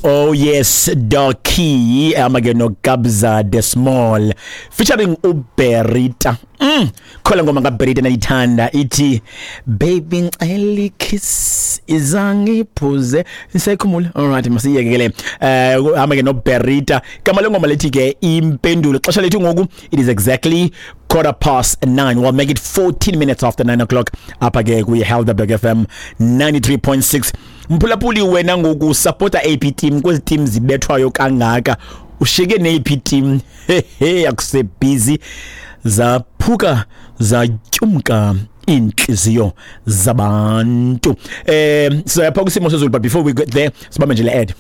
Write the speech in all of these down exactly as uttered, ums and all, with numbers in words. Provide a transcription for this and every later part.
Oh yes, Darky amake noKabza De Small featuring uBerita. Mm. Khola ngoma kaBerita nayithanda ithi "Baby ngicela kiss izangiphuze sekhumula." All right, masiyeke ke le. Eh amake noBerita. Kama le ngoma lethi ke "Impendulo". Xesha lethu ngoku, it is exactly quarter past nine. We'll make it fourteen minutes after nine o'clock apha ke kwi Helderberg F M ninety-three point six. Mphulaphuli, wena ngoku supporta A P team kwezi team zibethwayo kangaka? Ushiyeke neyiphi team? Hehe, akuse busy, zaphuka zatyumka inhliziyo zabantu. Eh sizayapha kwisimo sezulu, but before we get there, sibambe nje le ad.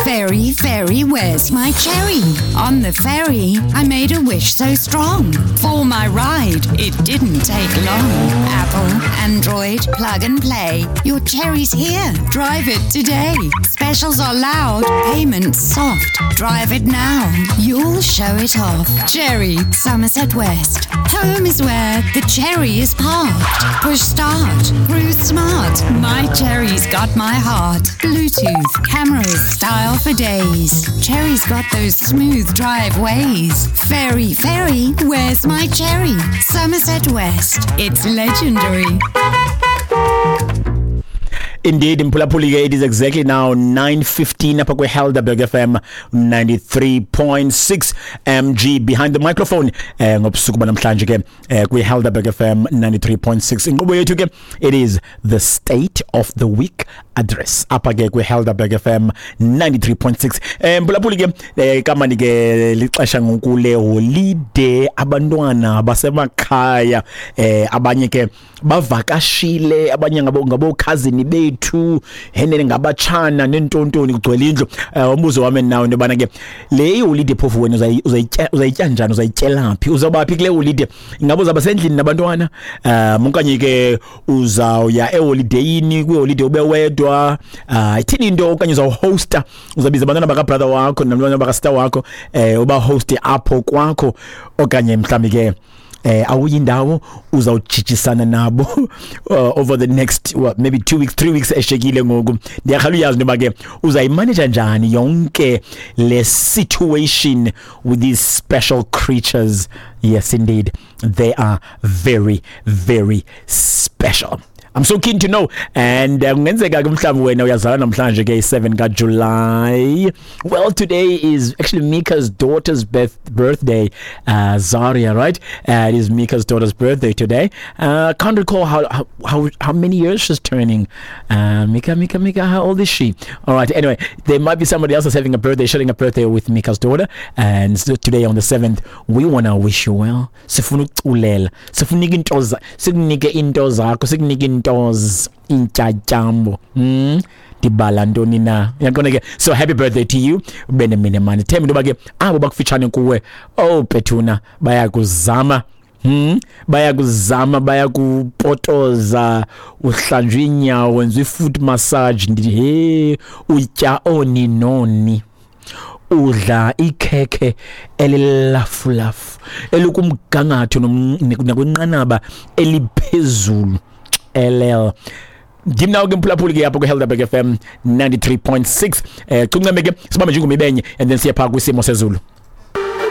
Fairy, fairy, where's my cherry? On the ferry, I made a wish so strong. For my ride, it didn't take long. Apple, Android, plug and play. Your cherry's here. Drive it today. Specials are loud, payments soft. Drive it now. You'll show it off. Cherry, Somerset West. Home is where the cherry is parked. Push start. Cruise smart. My cherry's got my heart. Bluetooth, cameras, style for days. Cherry's got those smooth drive ways. Fairy, fairy, where's my cherry? Somerset West. It's legendary. Indeed, mphulaphuli ke, it is exactly now nine fifteen apha kwi-Helderberg F M ninety-three point six. M G behind the microphone eh ngobusuku banamhlanje ke eh kwi-Helderberg F M ninety-three point six. Inkqubo yethu ke, it is the State of the Week Address apha ke kwi-Helderberg F M ninety-three point six. Eh mphulaphuli ke, eh kamani ke lixesha ngoku le holiday, abantwana basemakhaya, eh abanye ke bavakashile, abanye ngabo ngabo cousin bethu, henene ngabatshana nentontoni, kugcwele indlu. eh umbuzo wami nawe into yobana ke le holiday phofu wena uzayitya uzayitya njani, uzayityela phi, uzawuba phi kule holiday? Ingabe uzaba sendlini nabantwana um okanye ke uzawuya eholidayini, kwiholiday ube wedwa? uh ithini into? Okanye uzawuhosta, uzabiza abantwana bakabrother wakho nabantwana bakasister wakho, eh ubahoste apho kwakho, okanye mhlawumbi ke eh awuyindawo, uzawujijisana nabo uh, over the next, well, maybe two weeks, three weeks eshekile ngoku? Ndiyakhala uyazi ntoba ke uzayimanage njani yonke le situation with these special creatures. Yes indeed, they are very, very special. I'm so keen to know. And uh, kungenzeka ke mhlawumbi wena uyazalwa namhlanje ke seven kaJuly. Well, today is actually Mika's daughter's birth birthday, uh Zaria, right? Uh, it is Mika's daughter's birthday today. Uh can't recall how how how, how many years she's turning. Uh Mika Mika Mika, how old is she? All right, anyway, there might be somebody else that's having a birthday, sharing a birthday with Mika's daughter, and so today on the seventh we want to wish you well. Sifuna ukuculela, sifuna into, sikunike into zakho, sikunike into intyatyambo. mm ndibala ntoni na? Uyaqonda ke? So happy birthday to you, ube nemine mani. Themba into yoba ke abo bakufitshane kuwe, oh bethuna, bayakuzama. Hmm bayakuzama, bayakupotoza, uhlanjwa inyawo, wenza i-foot massage, ndithi he, utya oni noni, udla ikhekhe elilafulafu elikumgangatho nakwinqanaba eliphezulu. L L ndim nawo ke mphulaphuli ke apho kwi-Helderberg F M ninety-three point six. eh cunceme ke, sibambe nje ingoma ibenye and then siye phaa kwisimo sezulu.